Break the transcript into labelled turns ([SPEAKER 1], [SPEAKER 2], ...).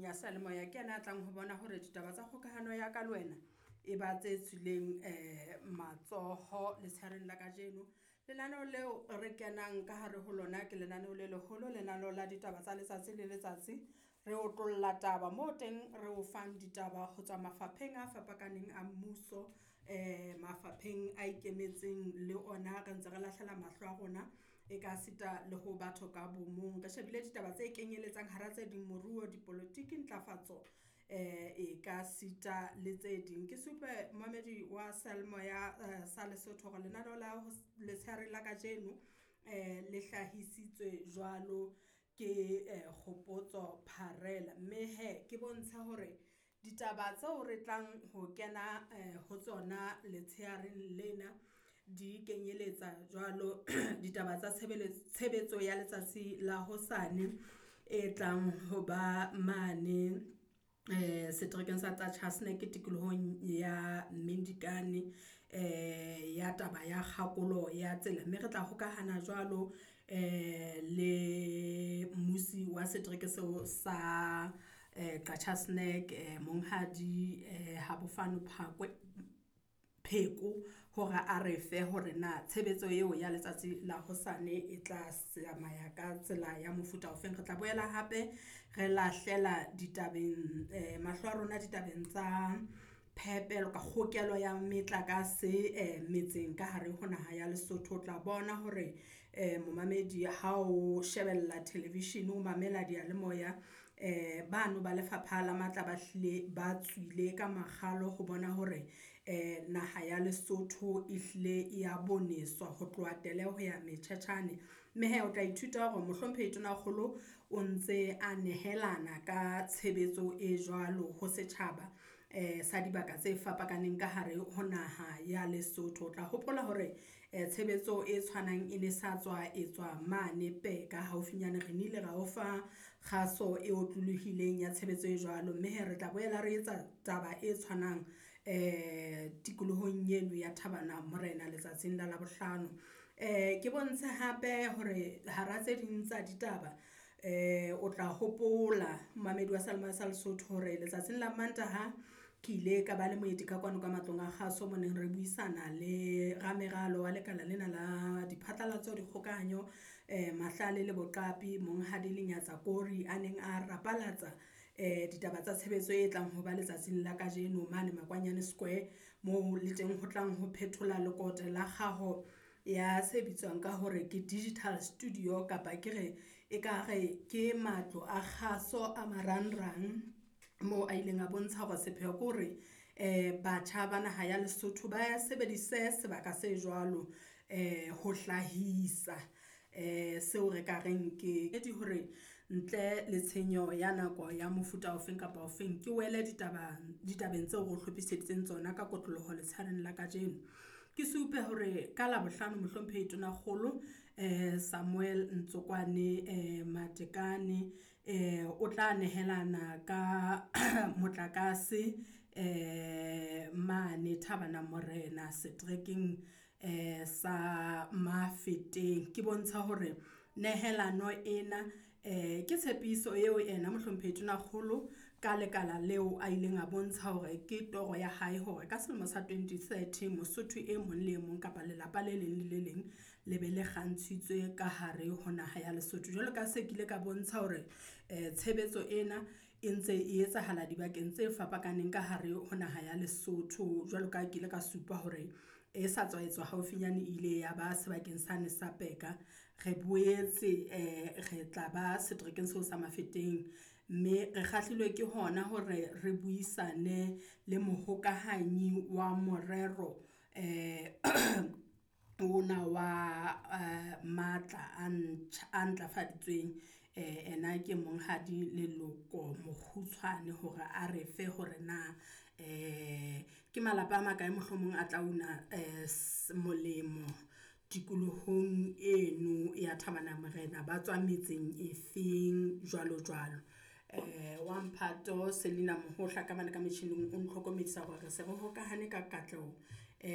[SPEAKER 1] metjhining ya seyalemoya ke yena a tlang ho bona hore ditaba tsa kgokahano ya ka le wena e ba tse tswileng matsoho letshehareng la kajeno. Lenaneo leo re kenang ka hare ho lona ke lenaneo le leholo, lenaneo la ditaba tsa letsatsi le letsatsi. Re otlolla taba moo teng re o fang ditaba ho tswa mafapheng a fapakaneng a mmuso, mafapheng a ikemetseng le ona re ntse re lahlela mahlo a rona e ka sita le ho batho ka bo mong. Re shebile ditaba tse kenyelletsang hara tse ding moruo, dipolotiki, ntlafatso e ka sita le tse ding. Ke supe momamedi wa seyalemoya sa Lesotho hore lenaneo la letshehare la kajeno le hlahisitswe jwalo ke Kgopotso Pharela. Mme hee ke bontshe hore ditaba tseo re tlang ho kena ho tsona letshehareng lena di kenyeletsa jwalo ditaba tsa tshebetso ya letsatsi la hosane e tlang ho ba mane seterekeng sa Qacha's Nek tikolohong ya Mindikane ya taba ya kgakolo ya tsela. Mme re tla hokahana jwalo le mmusi wa setereke seo sa Qacha's Nek Monghadi Habofano Pheko hore a re fe hore na tshebetso eo ya letsatsi la hosane e tla tsamaya ka tsela ya mofuta ofeng. Re tla boela hape re lahlela ditabeng mahlo a rona ditabeng tsa phepelo ka kgokelo ya metlakase metseng ka hare ho naha ya Lesotho. O tla bona hore momamedi ha o shebella television, o mamela diyalemoya bano ba lefapha la matla ba hlile ba tswile ka makgalo ho bona hore naha ya Lesotho e hlile ya boneswa ho tloha tele ho ya metjhetjhane. Mme hee o tla ithuta hore Mohlomphehi Tonakgolo o ntse a nehelana ka tshebetso e jwalo ho setjhaba sa dibaka tse fapakaneng ka hare ho naha ya Lesotho. O tla hopola hore tshebetso e tshwanang e ne sa tswa etswa mane Peka haufinyane re nnile ra o fa kgaso e otlolohileng ya tshebetso e jwalo. Mme hee re tla boela re etsa taba e tshwanang tikolohong eno ya Thabana Morena letsatsing la Labohlano. Ke bontshe hape hore hara tse ding tsa ditaba o tla hopola momamedi wa seyalemoya sa Lesotho hore letsatsing la Mantaha ke ile ka ba le moeti ka kwano ka matlong a kgaso moneng re buisana le rameralo wa lekala lena la diphatlalatso, dikgokahanyo, mahlale le boqapi Monghadi Lenyatsa Kori a neng a rapalatsa ditaba tsa tshebetso e tlang ho ba letsatsing la kajeno mane Makwanyane Square moo le teng ho tlang ho phethola lekote la kgaho ya se bitswang ka hore ke digital studio kapa ke re e ka re ke matlo a kgaso a marangrang moo a ileng a bontsha hore sepheo ke hore batjha ba naha ya Lesotho ba sebedise sebaka se jwalo ho hlahisa seo re ka reng ke hore ntle le tshenyo ya nako ya mofuta ofeng kapa ofeng ke wele ditabeng tseo re hlophiseditseng tsona ka kotloloho letshehareng la kajeno. Ke supe hore ka Labohlano Mohlomphehi Tonakgolo Samuel Ntsokwane Matekane o tla nehelana ka motlakase mane Thabana Morena seterekeng sa Mafeteng. Ke bontsha hore nehelano ena ke tshepiso eo ena Mohlomphehi Tonakgolo ka lekala leo a ileng a bontsha hore ke toro ya hae hore ka selemo sa 2030 Mosotho e mong le e mong kapa lelapa le leng le le leng le be le kgantshitswe ka hare ho naha ya Lesotho. Jwalo ka se ke ile ka bontsha hore tshebetso ena e ntse e etsahala dibakeng tse fapakaneng ka hare ho naha ya Lesotho. Jwalo ka ke ile ka supa hore e sa tswa etswa haufinyane ile ya ba sebakeng sane sa Peka. Re boetse re tla ba seterekeng seo sa Mafeteng, mme re kgahlilwe ke hona hore re buisane le mohokahanyi wa morero ona wa matla a ntlafaditsweng ena ke Monghadi Leloko Mokgutshwane hore a re fe hore na ke malapa a makae mohlomong a tla una molemo tikolohong eno ya Thabana Morena, ba tswa metseng e feng jwalo jwalo. Wa mphato Selina Mohohla ka mane ka metjhining o ntlhokomedisa hore re se re hokahane ka katleho